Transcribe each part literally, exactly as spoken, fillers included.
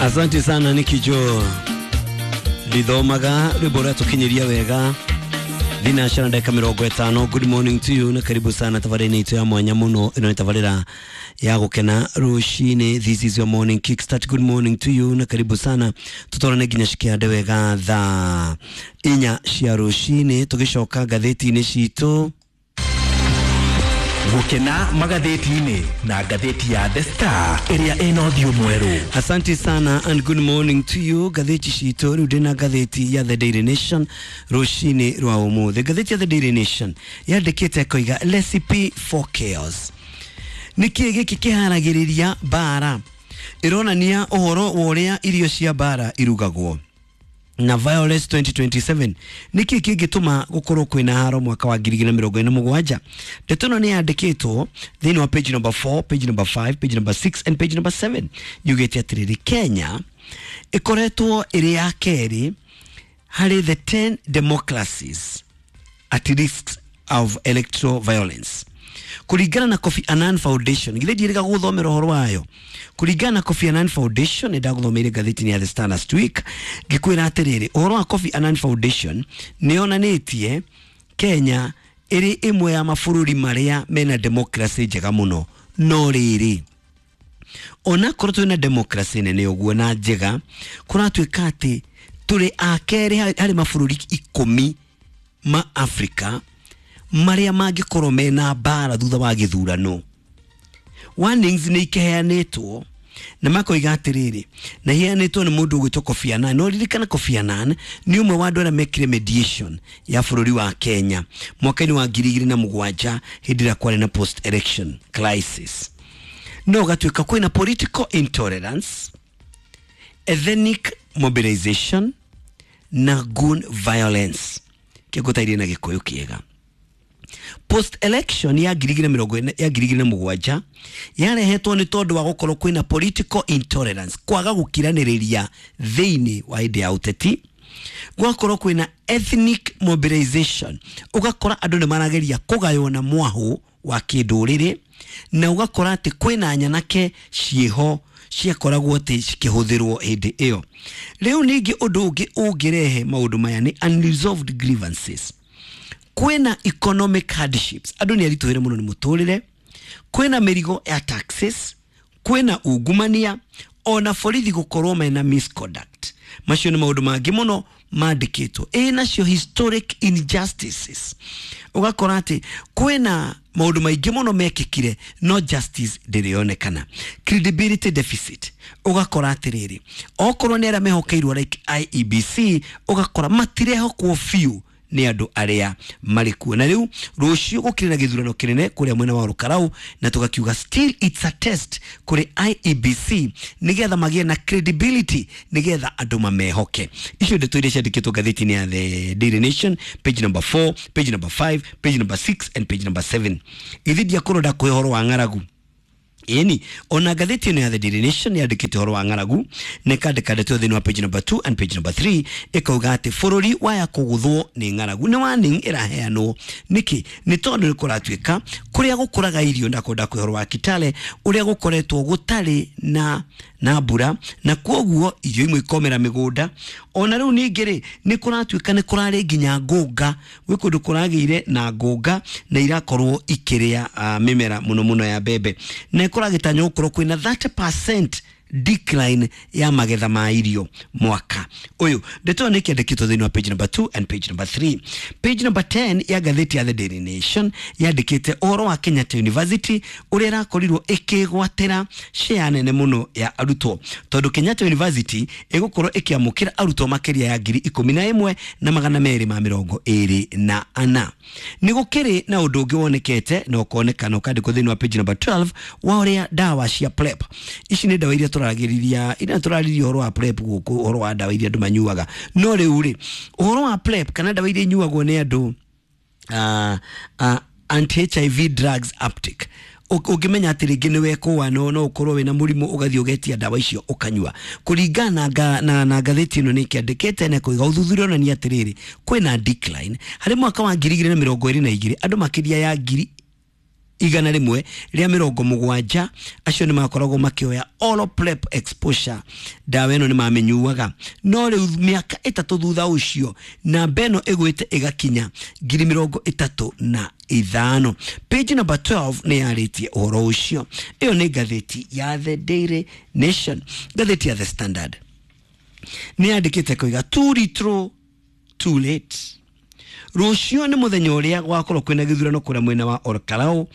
Asante sana Nikijo Lithomaga rwimbo rwa tukinyiria wega thinacara ndagika mirongo ĩtano. Good morning to you na karibu sana tabarĩra-inĩ itũ ya mwanya mũno. Ĩno nĩ tabarĩra ya gũkena rũcinĩ. This is your morning kickstart. Good morning to you na karibu sana, tũtwarane nginya cikĩande wega thaa inya cia rũcinĩ, tũgĩcoka ngathĩti-inĩ citũ. Gukena magathĩti-inĩ na ngathĩti ya The Star ĩrĩa ĩna ũthiũ mwerũ. Asante sana and good morning to you. Ngathĩti citũ rĩu ndĩna ngathĩti ya The Daily Nation rũcinĩ rwa ũmũthĩ. Ngathĩti ya The Daily Nation yandĩkĩte ĩkoiga recipe for chaos. Nĩkĩ gĩkĩ kĩharagĩrĩria mbara? Ĩronania ũhoro wa ũrĩa irio cia mbara irugagwo na violence twenty twenty-seven. Nĩkĩ kĩngĩtũma gũkorwo kwĩna haro mwaka wa ngiri igĩrĩ na mĩrongo ĩna mũgwanja? Ndeto ĩno nĩ yandĩkĩtwo thĩinĩ wa page number four, page number five, page number six and page number seven. Yugĩte atĩrĩrĩ, Kenya ĩkoretwo ĩrĩ ya kerĩ harĩ the ten democracies at risk of electoral violence kũringana na Kofi Annan Foundation. Githĩ ndiĩrĩga gũthomera ũhoro wayo? Kũringana na Kofi Annan Foundation, nĩ ndagũthomeire ngathĩti-inĩ ya The Star last week ngĩkwĩra atĩrĩrĩ, ũhoro wa Kofi Annan Foundation nĩ yonanĩtie Kenya ĩrĩ ĩmwe ya mabũrũri marĩa mena democracy njega mũno. No rĩrĩ, onakorwo twĩna democracy nene ũguo na njega, kũratuĩka atĩ tũrĩ a kerĩ harĩ mabũrũri ikũmi ma Africa marĩa mangĩkorwo mena mbara thutha wa gĩthurano. Warnings nĩ ikeheanĩtwo na makoiga atĩrĩrĩ, na iheanĩtwo nĩ mũndũ ũgwĩtwo Kofi Annan. No ririkana Kofi Annan nĩ ũmwe wa andũ arĩa mekire mediation ya bũrũri wa Kenya mwaka-inĩ wa ngiri igĩrĩ na mũgwanja hĩndĩ ĩrĩa kwarĩ na post election crisis. No gatuĩka kwĩna political intolerance, ethnic mobilization na gun violence. Kĩngũtairie na Gĩkũyũ kĩega, post election ya ngiri igĩrĩ na mĩrongo ĩna- ya ngiri igĩrĩ na mũgwanja yarehetwo nĩ tondũ wa gũkorwo kwĩna political intolerance, kwaga gũkiranĩrĩria thĩinĩ wa hĩndĩ ya ũteti, gwakorwo kwĩna ethnic mobilization, ũgakora andũ nĩ marageria kũgaywo na mwahũ wa kĩndũrĩrĩ, na ũgakora atĩ kwĩna nyanake ciĩho ciakoragwo atĩ cikĩhũthĩrwo hĩndĩ ĩyo. Rĩu ningĩ ũndũ ũngĩ ũngĩrehe maũndũ maya nĩ unresolved grievances. Kwĩna economic hardships, andũ nĩ aritũhĩre mũno nĩ mũtũrĩre, kwĩna mĩrigo ya taxes, kwĩna ungumania, ona borithi gũkorwo mena misconduct. Macio nĩ maũndũ mangĩ mũno mandĩkĩtwo. Ĩ nacio historic injustices, ũgakora atĩ kwĩna maũndũ maingĩ mũno mekĩkire no justice ndĩrĩonekana. Credibility deficit, ũgakora atĩrĩrĩ, okorwo nĩ arĩa mehokeirwo like I E B C, ũgakora matirehokwo biũ nĩ andũ arĩa marĩ kuo. Na rĩu rũciũ gũkĩrĩ na gĩthurano kĩnene kũrĩa mwena wa Rũkarau, na tũgakiuga still it's a test kũrĩ I E B C nĩgetha magĩe na credibility, nĩgetha andũ mamehoke. Icio ndeto iria ciandĩkĩtwo ngathĩti-inĩ ya The Daily Nation, page number four, page number five, page number six and page number seven. Githĩ ndiakorwo ndakũhe ũhoro wa ng'aragu? Ĩni ona ngathĩti ĩno ya The Daily Nation yandĩkĩte ũhoro wa ng'aragu na ĩkandĩka ndeto thĩinĩ wa page number two and page number three, ĩkauga atĩ bũrũri waya kũgũthwo nĩ ng'aragu. Nĩ warning ĩraheanwo. Nĩkĩ? Nĩ tondũ nĩ kũratuĩka kũrĩa gũkũraga irio, ndakwenda kwĩ ũhoro wa Kitale ũrĩa gũkoretwo gũtarĩ na na mbura, na kwoguo irio imwe ikomera mĩgũnda. Ona rĩu ningĩ rĩ, nĩ kũratuĩka nĩ kũrarĩ nginya ngũnga, gwĩ kũndũ kũragĩire na ngũnga na irakorwo ikĩrĩa uh, mĩmera mũno mũno ya mbembe, na ĩkũragĩtanywo gũkorwo kwĩna thirty percent decline ya magetha ma irio mwaka ũyũ. Ndeto ĩyo nĩ ĩkĩandĩkĩtwo thĩinĩ wa page number two and page number three. Page number ten ya ngathĩti ya The Daily Nation yandĩkĩte ũhoro wa Kenyatta University ũrĩa ĩrakorirwo ĩkĩgwatĩra share nene mũno ya arutwo, tondũ Kenyatta University ĩgũkorwo ĩkĩamũkĩra arutwo makĩria ya ngiri ikũmi na ĩmwe na magana merĩ ma mĩrongo ĩrĩ na ana. Nĩ gũkĩrĩ na ũndũ ũngĩ wonekete na ũkonekana ũkandĩkwo thĩinĩ wa page number twelve wa ũrĩa ndawa cia PrEP. Ici nĩ ndawa iria tũragĩrĩria, iria tũrarĩria ũhoro wa PrEP gũkũ, ũhoro wa ndawa iria andũ manyuaga. No rĩu rĩ, ũhoro wa PrEP kana ndawa iria inyuagwo nĩ andũ, uh, uh, anti H I V drugs uptake, ũngĩmenya atĩ rĩngĩ nĩ wekũa no no ũkorwo wĩna mũrimũ, ũgathiĩ ũgetia ndawa icio ũkanyua. Kũringana na, na, na ngathĩti ĩno nĩ ĩkĩandĩkĩte na kũiga ũthuthuria onania atĩrĩrĩ, kwĩna decline harĩ mwaka wa ngiri igĩrĩ na mĩrongo ĩrĩ na igĩrĩ, andũ makĩria ya ngiri igana rĩmwe rĩa mĩrongo mũgwanja acio nĩ makoragwo makĩoya oral PrEP exposure, ndawa ĩno nĩ mamĩnyuaga. No rĩu mĩaka ĩtatũ thutha ũcio namba ĩno ĩgwĩte ĩgakinya ngiri mĩrongo ĩtatũ na ithano. Page number twelve nĩ yarĩtie ũhoro ũcio. Ĩyo nĩ ngathĩti ya The Daily Nation. Ngathĩti ya The Standard nĩ yandĩkĩte koiga too little too late. Rũciũ nĩ mũthenya ũrĩa gwakorwo kwĩna gĩthurano kũrĩa mwena wa Olkalou,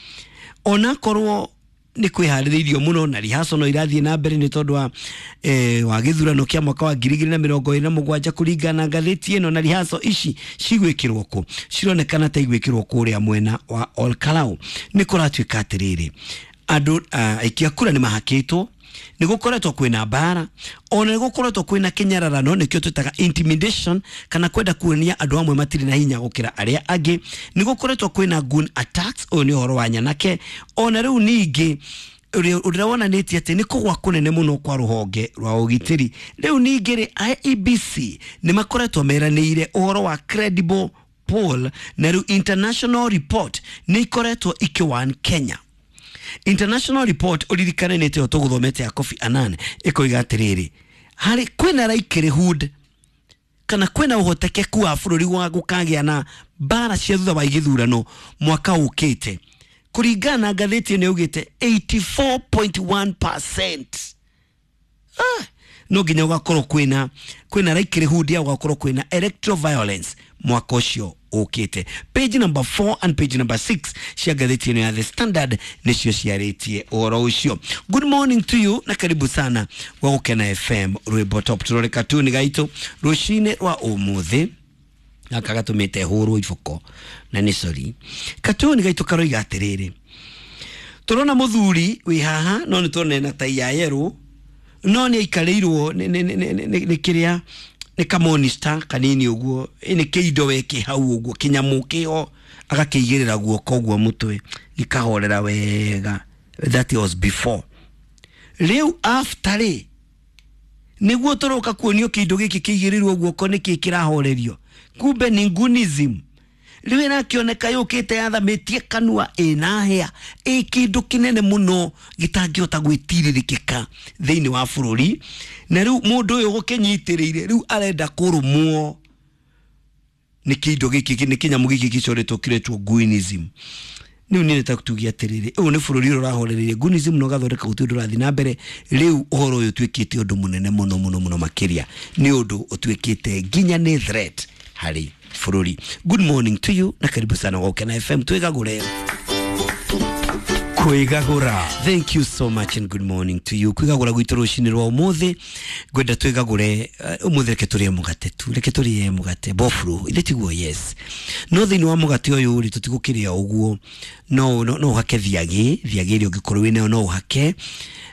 onakorwo nĩ kwĩharĩrĩirio mũno na rehearsal no irathiĩ na mbere nĩ tondũ wa eh, wa gĩthurano kĩa mwaka wa ngiri igĩrĩ na mĩrongo ĩrĩ na mũgwanja kũringana na ngathĩti ĩno. Na rehearsal ici cigwĩkĩrwo kũ? Cironekana ta igwĩkĩrwo kũrĩa mwena wa Olkalou. Nĩ kũratuĩka atĩrĩrĩ, andũ aikia kura nĩ mahakĩtwo, nĩ gũkoretwo kwĩna mbara, ona nĩ gũkoretwo kwĩna kĩnyararano, nĩkĩo twĩtaga intimidation, kana kwenda kuonia andũ amwe matirĩ na hinya gũkĩra arĩa angĩ. Nĩ gũkoretwo kwĩna gun attacks, ũyũ nĩ ũhoro wa nyanake. Ona rĩu ningĩ ũrĩa wonanĩtie atĩ nĩ kũgwa kũnene mũno kwa rũhonge rwa ũgitĩri. Rĩu ningĩ rĩ, I E B C nĩ makoretwo meranĩire ũhoro wa credible poll, na rĩu international report nĩ ikoretwo ikĩwan Kenya. International report uririkane nĩ tĩo tũgũthomete ya Kofi Annan ĩkoiga atĩrĩrĩ, harĩ kwĩna likelihood kana kwĩna ũhotekeku wa bũrũri wa gũkagĩa na mbara cia thutha wa gĩthurano mwaka ũkĩte. Kũringana na ngathĩti ĩno yaugĩte eighty-four point one percent. Ah, no nginya gũgakorwo kwĩna kwĩna likelihood ya gũgakorwo kwĩna electoral violence mwaka ũcio ũkĩte. Page number four and page number six cia ngathĩti ĩno ya The Standard nĩcio ciarĩtie ũhoro ũcio. Good morning to you na karibu sana gwa Gũkena F M rwĩmbo top. Tũrore katuni gaitũ rũcinĩ rwa ũmũthĩ gaka gatũmĩte hũrwo iboko na nĩ sorry. Katuni gaitũ karoiga atĩrĩrĩ, tũrona mũthuri wĩ haha no nĩ tuona ena tai ya yerũ, no nĩ aikarĩirwo nĩ kĩrĩa nĩ kamonista kanini ũguo, nĩ kĩindo weke hau ũguo kĩnyamũ kĩho agakĩigĩrĩra guoko ũguo mũtwe gĩkahorera wega. That was before. Rĩu after rĩ, nĩguo tũroka kuonio kĩndũ gĩkĩ kĩigĩrĩrwo guoko nĩkĩ kĩrahorerio, kumbe ni gunism. Rĩu ĩrakĩoneka yũkĩte yathamĩtie kanua ĩna hĩa, ĩ kĩndũ kĩnene mũno gĩtangĩhota gwĩtirĩrĩkĩka thĩinĩ wa bũrũri. Na rĩu mũndũ ũyũ gũkĩnyitĩrĩire rĩu arenda kũrũmwo nĩ kĩndũ gĩkĩ, nĩ kĩnyamũ gĩkĩ gĩcoretwo kĩretwo gunism. Rĩu niĩ nĩtakutugia atĩrĩrĩ, ũyũ nĩ bũrũri ũrĩa ũrahorereire gunism na ũgathondeka gũtirĩ ũndũ ũrathiĩ na mbere. Rĩu ũhoro ũyũ ũtuĩkĩte ũndũ mũnene mũno mũno mũno makĩria, nĩ ũndũ ũtuĩkĩte nginya nĩ threat harĩ bũrũri. Good morning to you na karibu sana gwa Gũkena F M. Twĩgagũre. Kwĩgagũra. Thank you so much and good morning to you. Kwĩgagũra gwitũ rũcinĩ rwa ũmũthĩ, ngwenda twĩgagũre ũmũthĩ, reke tũrĩe mũgate tu, reke tũrĩe mũgate bofro, ithe tiguo? Yes. No thĩinĩ wa mũgate ũyũ rĩ, tũtigũkĩrĩa ũguo, no no no ũhake thiagĩ, thiagĩ ĩrĩa ũngĩkorwo wĩnayo no ũhake,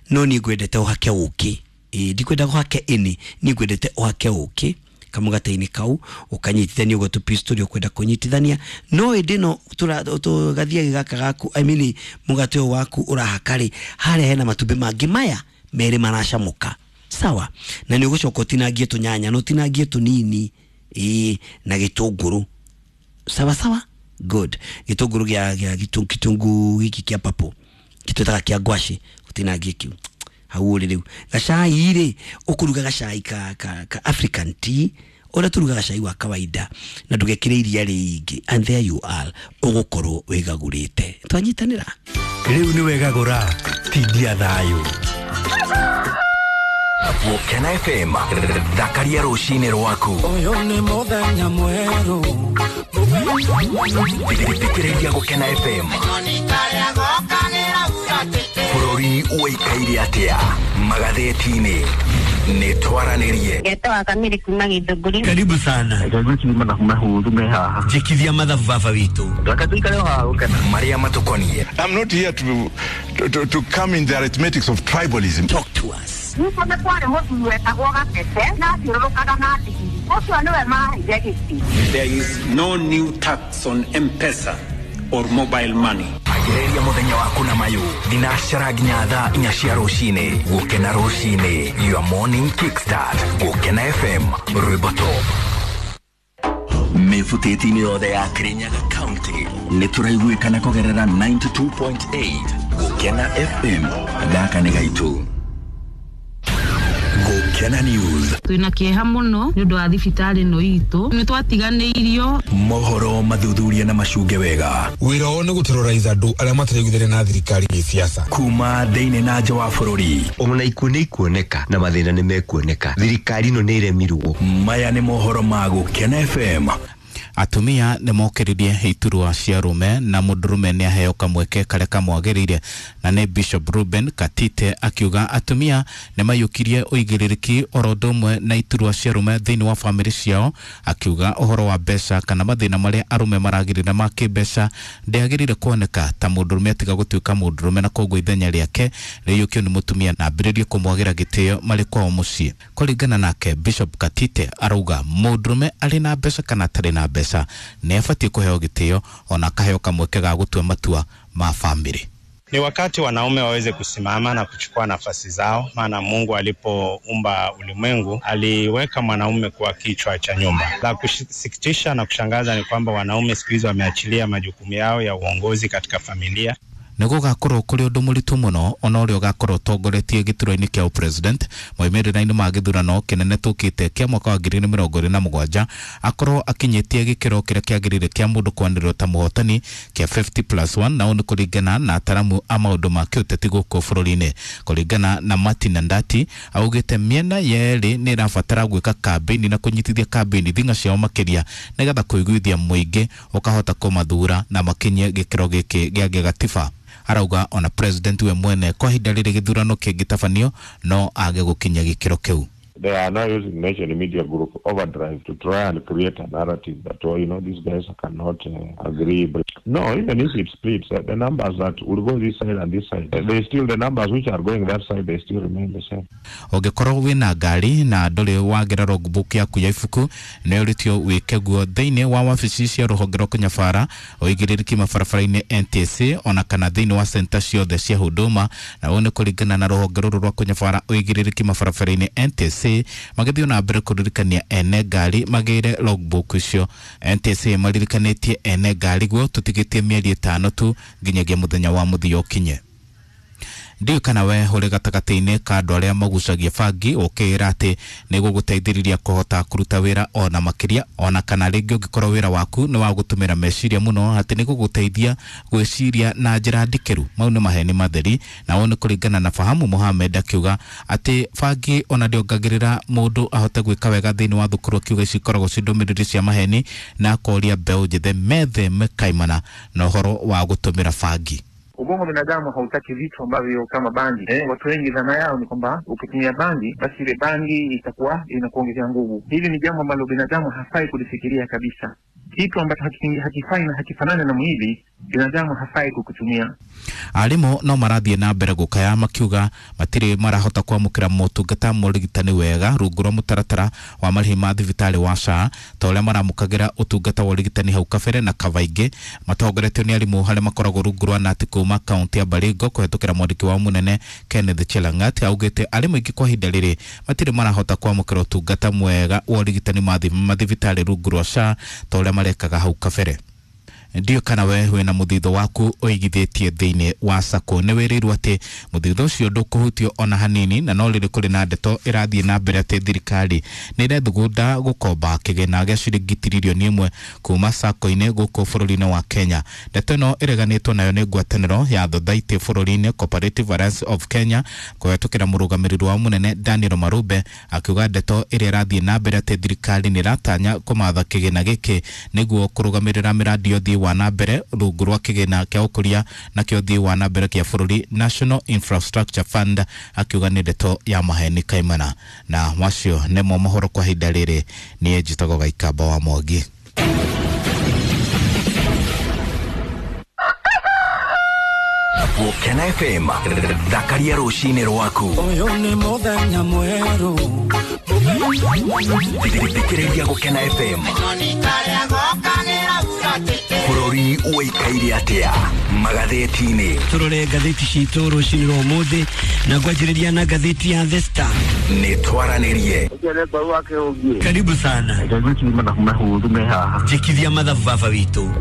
no niĩ ngwendete ũhake ũkĩ. Ĩ, ndikwenda ũhake ĩnĩ, niĩ ngwendete ũhake ũkĩ kamũgate-inĩ kau, ũkanyitithania ũguo tũpiece tũrĩa ũkwenda kũnyitithania. No ĩndĩ no tũgathiagi gaka gaku, I mean mũgate ũyũ waku ũrahaka rĩ, harĩa hena matumbĩ mangĩ maya merĩ maracamũka, sawa? Na nĩ ũgũcoka ũtinangie tũnyanya, na ũtinangie tũnini, ĩ, na gĩtũngũrũ, sawa sawa? Good. Gĩtũngũrũ gĩa gĩa gĩtũngũ gĩkĩ kĩa papo gĩtwĩtaga kĩa ngwacĩ, ũtinangie kĩu hau ũrĩ. Rĩu gacai rĩ, ũkũruga gacai ka, ka, ka African tea, ũrĩa tũrugaga cai wa kawaida, na ndũgekĩre iria rĩingĩ, and there you are, ũgũkorwo wĩgagũrĩte. Twanyitanĩra. Rĩu nĩ wegagũra, tindia thayũ. Gũkena F M, thakaria rũcinĩ rwaku. Ũyũ nĩ mũthenya mwerũ. Thikĩrĩria Gũkena F M. Bũrũri ũikaire atĩa magathĩti-inĩ? Nĩ twaranĩrie. Ngetwa Kamiri kuma Gĩthũngũri. Karibu sana. Ngai mathabu mahũthũ me haha. Njĩkithia mathabu baba witũ. Reke tũikare o haha Gũkena. Marĩa matũkoniĩ. I'm not here to, to, to, to come in the arithmetics of tribalism. Talk to us. Nĩkuo nĩ kwarĩ mũthuri wetagwo Gatete na athiũrũrũkaga na ndigiri. Ũcio nĩwe maheire gĩtĩ. There is no new tax on M-Pesa or mobile money. Ambĩrĩria mũthenya waku na mayũ thinacara nginya thaa inya cia rũcinĩ. Gũkena rũcinĩ, your morning kickstart. Gũkena F M, rwĩmbo top. Gĩbutĩti-inĩ yothe ya Kirinyaga County nĩ tũraiguĩkana kũgerera ninety-two point eight Gũkena F M. Gaka nĩ gaitũ. Gũkena News. Twĩna kĩeha mũno nĩ ũndũ wa thibitarĩ ĩno itũ. Nĩ twatiganĩirio. Mohoro mathuthuria na macunge wega. Wĩra wao nĩ gũterrorize andũ arĩa mataraiguithania na thirikari gĩsiasa. Kuma thĩinĩ na nja wa bũrũri. Ona ikuũ nĩ ikuoneka na mathĩna nĩ mekuoneka. Thirikari ĩno nĩ ĩremirwo. Maya nĩ mohoro ma Gũkena F M. Atumia nĩ mokĩririe iturwa cia rume na mũndũrũme nĩ aheo kamweke karĩa kamwagĩrĩire, na nĩ Bishop Ruben Katite akiuga atumia nĩ maiyũkirie ũigĩrĩrĩki oro ũndũ ũmwe na iturwa cia rume thĩinĩ wa bamĩrĩ ciao, akiuga ũhoro wa mbeca kana mathĩna marĩa arũme maragĩrĩra ma kĩmbeca ndĩagĩrĩire kuoneka ta mũndũrũme atiga gũtuĩka mũndũrũme, na koguo ithenya rĩake rĩiyũkio nĩ mũtumia na ambĩrĩrie kũmwagĩra gĩtĩo marĩ kwao mũciĩ. Kũringana nake, Bishop Katite arauga mũndũrũme arĩ na mbeca kana atarĩ na mbeca nĩ abatiĩ kũheo gĩtĩo ona akaheo kamweke ga gũtua matua ma bamĩrĩ. Ni wakati wanaume waweze kusimama na kuchukua nafasi zao, maana Mungu alipoumba ulimwengu aliweka mwanaume kuwa kichwa cha nyumba. La kusikitisha na kushangaza ni kwamba wanaume siku hizi wameachilia majukumu yao ya uongozi katika familia. Nĩ gũgakorwo kũrĩ ũndũ mũritũ mũno ona ũrĩa ũgakorwo ũtongoretie gĩturwa-inĩ kĩa president moimĩrĩra-inĩ ma gĩthurano kĩnene tũkĩte kĩa mwaka wa ngiri igĩrĩ na mĩrongo ĩrĩ na mũgwanja akorwo akinyĩtie gĩkĩro kĩrĩa kĩagĩrĩire kĩa mũndũ kwanĩrĩrwo ta mũhotani kĩa fifty plus one, na ũũ nĩ kũringana na ataramu a maũndũ ma kĩũteti gũkũ bũrũri-inĩ. Kũringana na Martin Ndati, augĩte mĩena yerĩ nĩ ĩrabatara gwĩka kambĩini na kũnyitithia kambĩini thing'a ciao makĩria nĩgetha kũiguithia mũingĩ ũkahota kũmathura na makinyie gĩkĩro gĩkĩ gĩa gĩgatiba. Arauga ona president we mwene kwa ihinda rĩrĩ gĩthurano kĩngĩtabanio no age gũkinya gĩkĩro kĩu. They are now using Nation Media Group overdrive to try and create a narrative that, oh, you know, these guys cannot uh, agree. But no, even if it splits, uh, the numbers that will go this side and this side, uh, they still, the numbers which are going that side, they still remain the same. Ũngĩkorwo wĩna ngari na ndũrĩ wagĩra logbook yaku ya ibuku, nĩ ũrĩtio wĩke guo thĩinĩ wa wabici cia rũhonge rwa kũnyabara ũigĩrĩrĩki mabarabara-inĩ N T S A ona kana thĩinĩ wa center ciothe cia Huduma, na ũũ nĩ kũringana na rũhonge rũrũ rwa kũnyabara ũigĩrĩrĩki mabarabara-inĩ N T S A magĩthiĩ na mbere kũririkania ene ngari magĩre logbook icio. N T S A maririkanĩtie ene ngari guo tũtigĩtie mĩeri ĩtano tu nginyagia mũthenya wa mũthia ũkinye. Ndiũĩ kana we ũrĩ gatagatĩ-inĩ ka andũ arĩa magucagia bangi ũkĩĩra atĩ nĩ gũgũteithĩrĩria kũhota kũruta wĩra ona makĩria, ona kana rĩngĩ ũngĩkorwo wĩra waku nĩ wa gũtũmĩra meciria mũno atĩ nĩ gũgũteithia gwĩciria na njĩra ndikĩru. Mau nĩ maheni matheri, na ũũ nĩ kũringana na Fahamu Mohamed akiuga atĩ bangi ona ndĩongagĩrĩra mũndũ ahote gwĩka wega thĩinĩ wa thukuru, akiuga ici ikoragwo ci ndũmĩrĩri cia maheni na akoria mbeũ njĩthĩ metheme kaimana na ũhoro wa gũtũmĩra bangi. Ubongo wa binadamu hautaki vitu ambavyo kama bangi. Eh, watu wengi dhana yao ni kwamba ukitumia bangi basi ile bangi itakuwa inakuongezea nguvu. Hili ni jambo ambalo binadamu hafai kulifikiria kabisa. Kitu ambacho hakifai na hakifanani na mwili, binadamu hafai kukutumia. Arimũ no marathiĩ na mbere gũkaya makiuga matirĩ marahota kwamũkĩra motungata ma ũrigitani wega rungu rwa mũtaratara wa marĩhi ma thibitarĩ wa S H A ta ũrĩa maramũkagĩra ũtungata wa ũrigitani hau kabere na kabaingĩ matongoretio nĩ arimũ harĩa makoragwo rungu rwa nati kuma kaunti ya Baringo kũhetũkĩra mwandĩki wao mũnene Kenneth Chelangat augĩte arimũ aingĩ kwa ihinda rĩrĩ matirĩ marahota kwamũkĩra ũtungata mwega wa ũrigitani mathibitarĩ rungu rwa S H A ta ũrĩa marekaga hau kabere. Ndiũ kana we wĩna mũthithũ waku ũigithĩtie thĩinĩ wa sacco nĩ wĩrĩirwo atĩ mũthithũ ũcio ndũkũhutio ona hanini, na no rĩrĩ kũrĩ na ndeto ĩrathiĩ na mbere atĩ thirikari nĩ ĩrethugunda gũkomba kĩgĩna gĩa ciringi tiririoni ĩmwe kuma sacco-inĩ gũkũ bũrũri-inĩ wa Kenya. Ndeto ĩno ĩreganĩtwo nayo nĩ ngwatanĩro ya Thothaitĩ bũrũri-inĩ Cooperative Alliance of Kenya kũhetũkĩra mũrũgamĩrĩri wao mũnene Daniel Marube akiuga ndeto ĩrĩa ĩrathiĩ na mbere atĩ thirikari nĩ ĩratanya kũmatha kĩgĩna gĩkĩ nĩguo kũrũgamĩrĩra mĩradi ya ũthii wa na mbere rungu rwa kĩgĩna kĩa ũkũria na kĩa ũthii wa na mbere kĩa bũrũri National Infrastructure Fund, akiuga nĩ ndeto ya maheni kaimana. Na macio nĩmo mohoro kwa ihinda rĩrĩ. Niĩ njĩtagwo Gaikamba wa Mwangi. Gũkena F M thakaria rũcinĩ rwaku. Ũyũ nĩ mũthenya mwerũ. Thikĩrĩria Gũkena F M. Bũrũri ũikaire atĩa magathĩti-inĩ? Tũrore ngathĩti citũ rũcinĩ rwa ũmũthĩ na ngwanjĩrĩria na ngathĩti ya The Star. Nĩ twaranĩrie. Karibu sana. Njĩkithia mathabu baba witũ.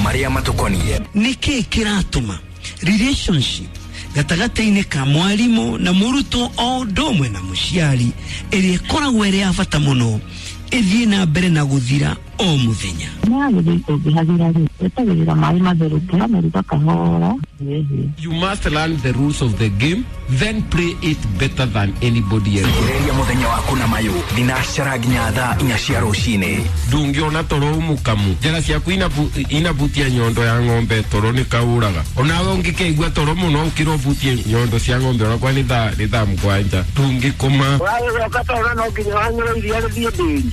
Marĩa matũkoniĩ. Nĩkĩ kĩratũma relationship gatagatĩ-inĩ ka mwarimũ na mũrutwo o ũndũ ũmwe na mũciari ĩrĩa ĩkoragwo ĩrĩ ya bata mũno ĩthiĩ na mbere na gũthira o mũthenya? You must learn the rules of the game, then play it better than anybody else. Thikĩrĩria mũthenya waku na mayũ thinacara nginya thaa inya cia rũcinĩ. Ndũngĩona toro mũkamu njĩra ciaku inabutia nyondo ya ng'ombe toro nĩ kaũraga onawe ũngĩkeigua toro mũno ũkĩra ũbutie nyondo cia ng'ombe onakwa nĩ thaa nĩ thaa mũgwanja ndũngĩkoma. Ũragĩcoka toro no nginya wanyue iria rĩthiĩ ndĩri.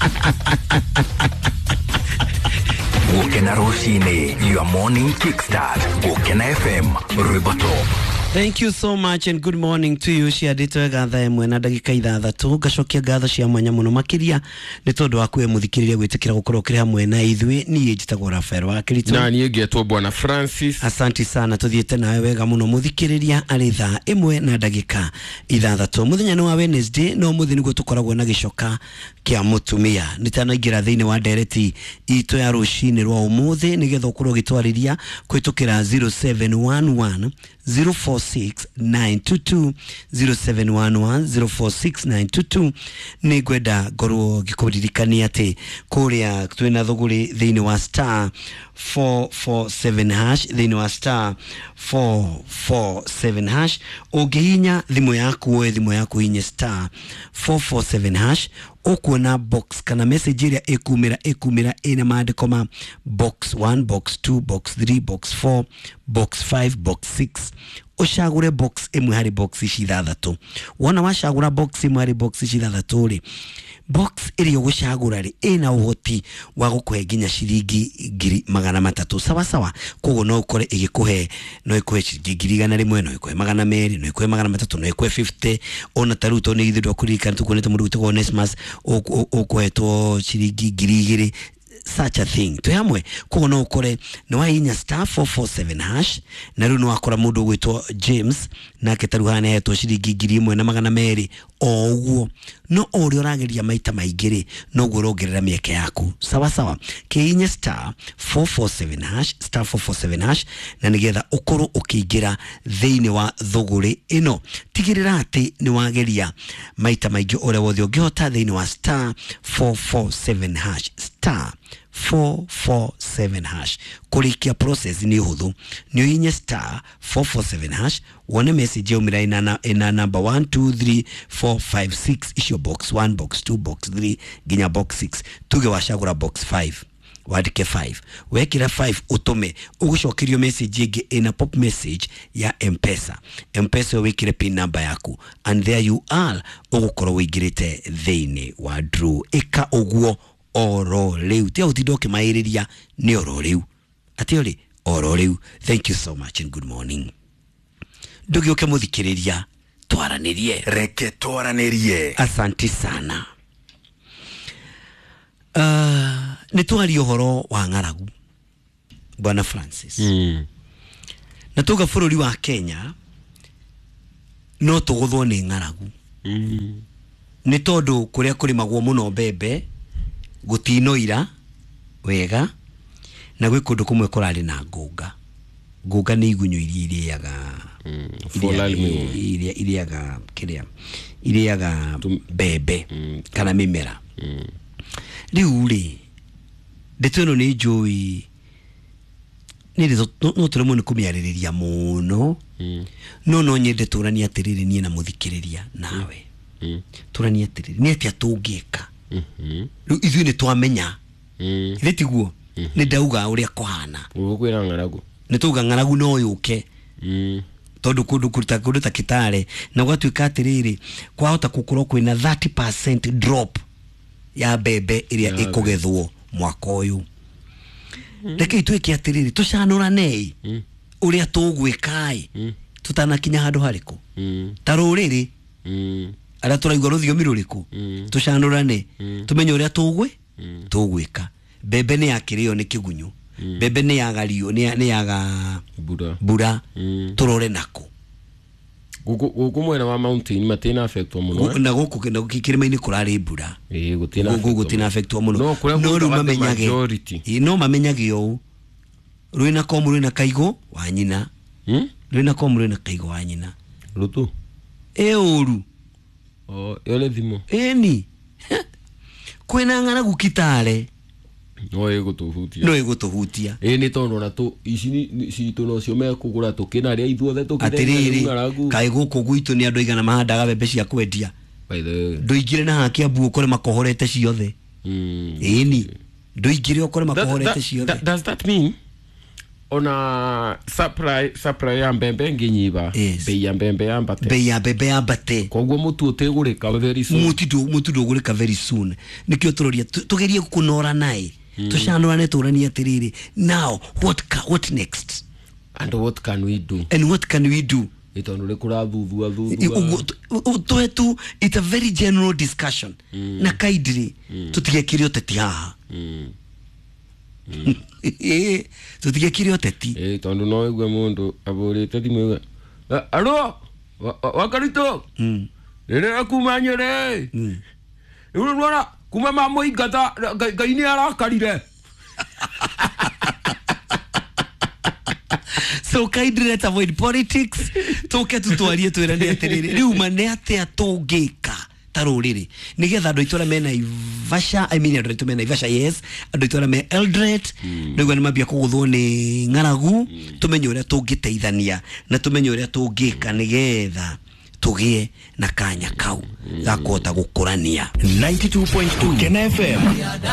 Gũkena rũcinĩ, your morning kickstart. Gũkena F M, rwĩmbo top. Thank you so much and good morning to you. Ciandĩtwo wega thaa ĩmwe na ndagĩka ithathatũ. Ngacokia ngatho cia mwanya mũno makĩria nĩ tondũ wa kwĩ mũthikĩrĩria gwĩtĩkĩra gũkorwo ũkĩrĩ hamwe na ithuĩ. Niĩ njĩtagwo Rafael wa Kĩritũ. Na niĩ ngetwo Bwana Francis. Asanti sana, tũthiĩte nawe wega mũno mũthikĩrĩria arĩ thaa ĩmwe na ndagĩka ithathatũ. Mũthenya nĩ wa Wednesday no mũthĩ nĩguo tũkoragwo na gĩcoka kĩa mũtumia. Nĩtanaingĩra thĩinĩ wa ndereti itũ ya rũcinĩ rwa ũmũthĩ nĩgetha ũkorwo ũgĩtwarĩria kũhĩtũkĩra zero seven one one zero four six nine two two zero seven one one zero four six nine two two. Nĩ ngwenda ngorwo ngĩkũririkania atĩ kũrĩa twĩna thũgũrĩ thĩinĩ wa star four four seven hash, thĩinĩ wa star four four seven hash. Ũngĩhihinya thimũ yaku woe thimũ yaku hihinye star four four seven hash, ũkuona box kana message ĩrĩa ĩkumĩra ĩkumĩra ĩna maandĩko ma box one, box two, box three, box four, box five, box six. Ũcagũre box ĩmwe harĩ box ici ithathatũ. Wona wacagũra box ĩmwe harĩ box ici ithathatũ rĩ, box ĩrĩa ũgũcagũra rĩ ĩna ũhoti wa gũkũhe nginya ciringi ngiri magana matatũ sawa sawa. Koguo no ũkore ĩgĩkũhe, no ĩkũhe ciringi ngiri igana rĩmwe, no ĩkũhe magana merĩ, no ĩkũhe magana matatũ, no ĩkũhe fifty. Ona ta rĩu tondũ nĩ ithuĩ ndwakũririkana tũkuonete mũndũ wĩtagwo Onesmus ũkũhetwo ciringi ngiri igĩrĩ, such a thing. Twĩ hamwe. Koguo no ũkore nĩ wahihinya star four four seven hash na rĩu nĩ wakora mũndũ ũgwĩtwo James nake ta rĩu haha nĩahetwo ciringi ngiri ĩmwe na magana merĩ o ũguo. No o ũrĩa ũrageria maita maingĩ rĩ noguo ũrongerera mĩeke yaku sawa sawa. Kĩhihinye star four four seven hash, star four four seven hash, na nĩgetha ũkorwo ũkĩingĩra thĩinĩ wa thũgũrĩ ĩno. Tigĩrĩra atĩ nĩ wageria maita maingĩ ũrĩa wothe ũngĩhota thĩinĩ wa star four four seven hash, star four four seven hash. Kũrĩkia process nĩ ũhũthũ, nĩ ũhihinye star four four seven hash wone message yaumĩra ĩna ĩna number one two three four five six, icio box one, box two, box three nginya box six. Tuge wacagũra box five, wandĩke five, wekĩra five ũtũme, ũgũcokerio message ĩngĩ ĩna pop message ya M-Pesa. M-Pesa wĩkĩre pin number yaku and there you are, ũgũkorwo wĩingĩrĩte thĩinĩ wa draw. Ĩka ũguo oro rĩu, tiga gũtinda ũkĩmaĩrĩria, nĩ oro rĩu, atĩ ũrĩ oro rĩu. Thank you so much and good morning. Ndũgĩũke mũthikĩrĩria, twaranĩrie. Reke twaranĩrie. Asanti sana. Uh, nĩ twaria ũhoro wa ng'aragu Bwana Francis. Mm. Na tuga bũrũri wa Kenya no tũgũthwo nĩ ng'aragu. Mm. Nĩ tondũ kũrĩa kũrĩmagwo mũno mbembe gũtinoira wega na gwĩ kũndũ kũmwe kũrarĩ na ngũnga. Ngũnga nĩ igunyũ iria irĩaga iria irĩaga kĩrĩa irĩaga mbembe kana mĩmera. Rĩu rĩ ndeto ĩno nĩ njũĩ nĩ no tũremwo nĩ kũmĩarĩrĩria mũno, no no nyende tũranie atĩrĩrĩ niĩ na mũthikĩrĩria nawe, tũranie atĩrĩrĩ nĩ atĩa tũngĩka. Rĩu ithuĩ nĩ twamenya ithe tiguo nĩ ndauga ũrĩa kũhana ũkwĩra ng'aragu, nĩ tauga ng'aragu no yũke tondũ kũndũ kũruta kũndũ ta Kitale na gwatuĩka atĩrĩrĩ kwahota gũkorwo kwĩna thirty percent drop ya mbembe ĩrĩa ĩkũgethwo mwaka ũyũ. Rekei twĩke atĩrĩrĩ tũcanũranei ũrĩa tũgwĩka ĩ tũtanakinya handũ harĩkũ ta rũrĩrĩ arĩa tũraigua rũthiomi rũrĩkũ, tũcanũrane tũmenye ũrĩa tũgwĩ tũgwĩka. Mbembe nĩ yakĩrĩo nĩ kĩgunyũ, mbembe nĩ yagario nĩ yaga mbura mbura, tũrore nako guku mwena wa mountain matina affectwo muno na guku kirima-inĩ kũrarĩ mbura ĩĩ gutina guku gutina affectwo muno no no rĩu mamenyage no mamenyage ũũ rwĩna komu rwĩna kaigo wa nyina hmm? Rwĩna komu rwĩna kaigo wa nyina rutu ĩ ũru oh ĩyo nĩ thimo ĩni kwĩna ng'aragu Kitale no ĩgũtũhutia no ĩgũtũhutia ĩ nĩ tondũ ona tũ ici citũ nocio mekũgũra tũkĩnarĩa ithuothe atĩrĩrĩ kaĩ gũkũ gwitũ nĩ andũ aigana mahandaga mbembe cia kwendia ndũingĩre na haha Kiambu ũkore makohorete ciothe ĩni ndũingĩre ũkore makohorete ciothe. Does that mean ona supply supply ya mbembe nginyiba bei ya mbembe yambate bei ya mbembe yambate koguo mutu utegurika very soon mutu mutu ndugurika very soon nikio turoria tugerie kunora nae tucanurane turanie atiriri now what what next and what can we do and what can we do itondu ri kurathuthua thuthua twetu it's a very general discussion na kindly tutigekire uteti haha tutigekire uteti eh tondu no igue mundu aburite thimu alo wakarito rĩrĩa kuma Nyĩrĩ rĩu rwara kuma mamũingata Ngai nĩ arakarire. So kindly let's avoid politics tuke tutwarie twirane atiriri riu ma nĩ atia tũngĩka ta rũrĩrĩ nĩgetha andũ aitũ arĩa me Naivasha I mean andũ aitũ me Naivasha yes andũ aitũ arĩa me Eldoret nĩguo nĩmambia kũgũthwo nĩ ng'aragu tũmenye ũrĩa tũngĩteithania na tũmenye ũrĩa tũngĩka nĩgetha tũgĩe na kanya kau ga kũhota gũkũrania. ninety-two point two Kena F M.